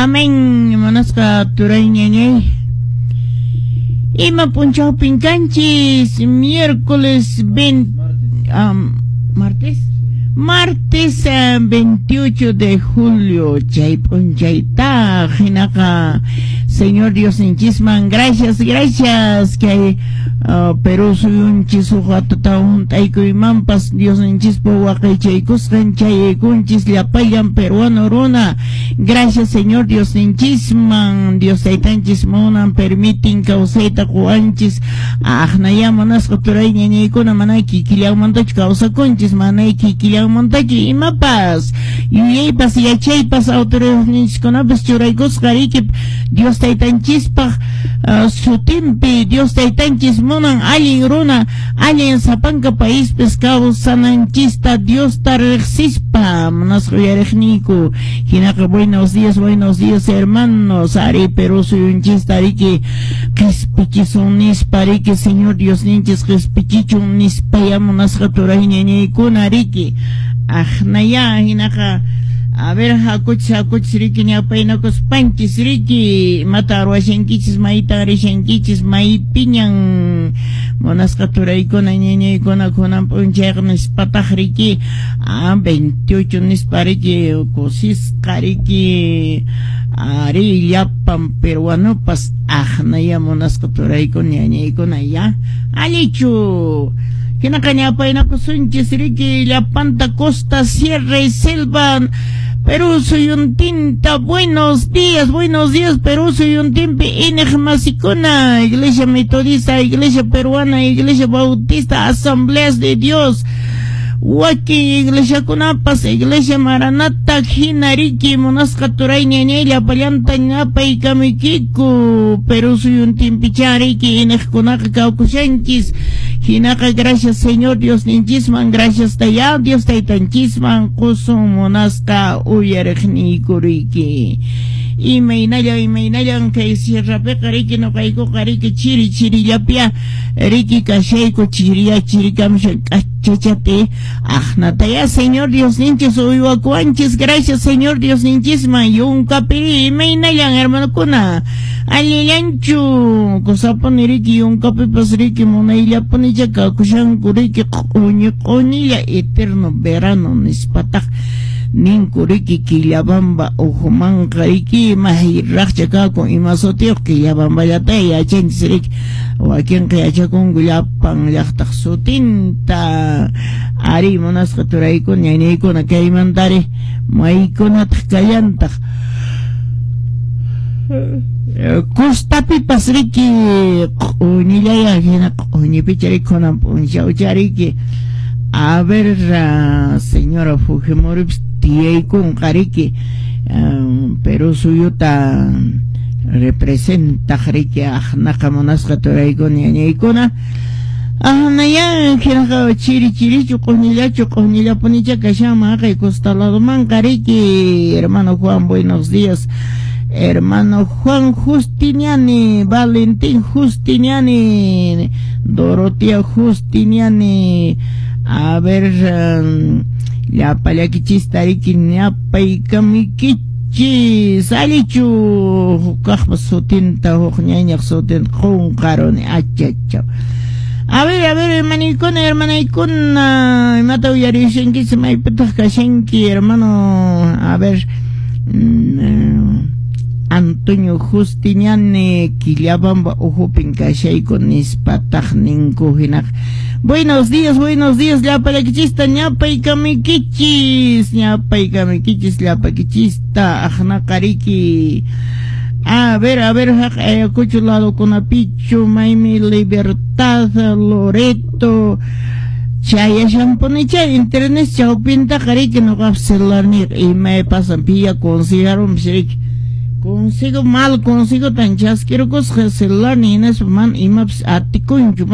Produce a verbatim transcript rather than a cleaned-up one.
Amén. Munasqa turay ñañay. Ima p'unchawpin kanchis miércoles veinte, um, martes martes uh, veintiocho de julio, chay p'unchayta hinaqa Señor Diosninchisman gracias, gracias kay uh, Perú suyunchis huk watata hunt'aykuymanpas Diosninchispa waqaychaykusqan chayaykunchis llapallan peruano runa. Gracias, Señor Diosninchisman. Dios taytanchis munan permitin kawsayta quwanchis. Aqnaya munasqa turay ñañaykuna, mana kikillanmantachu kawsakunchis, mana kikillanmantachu imapas yuyaypas yachaypas autoridadninchiskunapas churaykusqa riki Dios taytanchispaq uh, sutinpi. Dios taytanchis munan allin runa, allin sapanka paispis kawsananchista Diosta riqsispa, munasqa uyariqniyku. Hinaqa buenos días, buenos días, hermanos. Ari, Perú suyunchista riki qispichisun nispa riki, Señor Diosninchis qispichichun nispaya, munasqa turay ñañaykuna riki. Aqnaya hinaqa a ver, hakuchis, hakuchis riki, ñapaynakuspanchis riki, imata ruwashankichis, maytan rishankichis, maypiñan munasqa turaykuna ñañaykuna kunan p'unchayqa nispataq riki, ah, veintiocho nispa riki, kusisqa riki, ari llapan peruanopas. Aqnaya munasqa turaykuna ñañaykuna, ya allichu. Hinaqa ñapaynakusunchis riki llapanta costa, sierra y selva Perú suyuntinta. Buenos días, buenos días, Perú suyuntinpi iñiqmasikuna, Iglesia Metodista, Iglesia Peruana, Iglesia Bautista, Asambleas de Dios, wakin iglesiakunapas, Iglesia Maranata hina riki, munasqa turay ñañay llapallanta ñapaykamuykiku. Perú suyuntinpicha riki iñiqkunaqa kawkushanchis. Hinaqa gracias Señor Diosninchisman, gracias taya Dios taytanchisman qusun, munasqa uyariqniyku riki. Imaynalla, imaynallan kay sierrapiqa riki? Nuqaykuqa riki chiri chirillapia riki kashayku, chiriya chirikamushan k'achachati. Aqnataya Señor Diosninchis uywakuwanchis, gracias Señor Diosninchisman. Yunkapiri imaynallan, hermanokuna? Allillanchu kusapuni riki yunkapipas riki? Munayllapunicha kakushanku riki, q'uñi q'uñilla, eterno verano nispataq ninku riki. Quillabamba uhumanqa riki mayraqcha kakun, ima sutiyuq Quillabamballata yachanchis riki, wakinqa yachakunku llapan llaqtaq sutinta. Ari, munasqa turaykuna ñañaykuna, kaymantari maykunataq kallantaq? Costapipas riki q'uñillaya, hina q'uñipicha riki kunan p'unchawcha riki. A ver, señora Fujimoripis tiyaykunqa riki, Perú suyuta representaq riki. Aqnaqa munasqa turaykuna ñañaykuna, aqnaya hinaqa chiri chirichu, q'uñillachu? Q'uñillapunicha kashanman haqay costa ladomanqa riki. Hermano Juan, buenos días, hermano Juan Justiniani, Valentín Justiniani, Dorotea Justiniani. A ver, um, llapallakichista riki ñapaykamuykichis. Allichu hukaqpa sutinta, huk ñañaq sutinta qunqaruni, achachaw. A ver, a ver, hermanaykuna, hermanaykuna, imata uyarishankichis, maypitaq kashanki, hermano? A ver, mm, Antonio Justiniani, Quillabamba uhupin kashayku nispataq ninku hinaq. Buenos días, buenos días, llapallakichista ñapaykamuykichis, ñapaykamuykichis llapakichista. Aqnaqa riki. A ver, a ver, haq Ayacucho ladokunapichu, maymi Libertad, Loreto, chayashanpunicha internet chawpintaqa riki nuqap celularniyqa imay pasan piya consigarunpis riki. Consigo mal consigo tan chaskirkusqa celular hinaspa mana imapis atikunchu mana.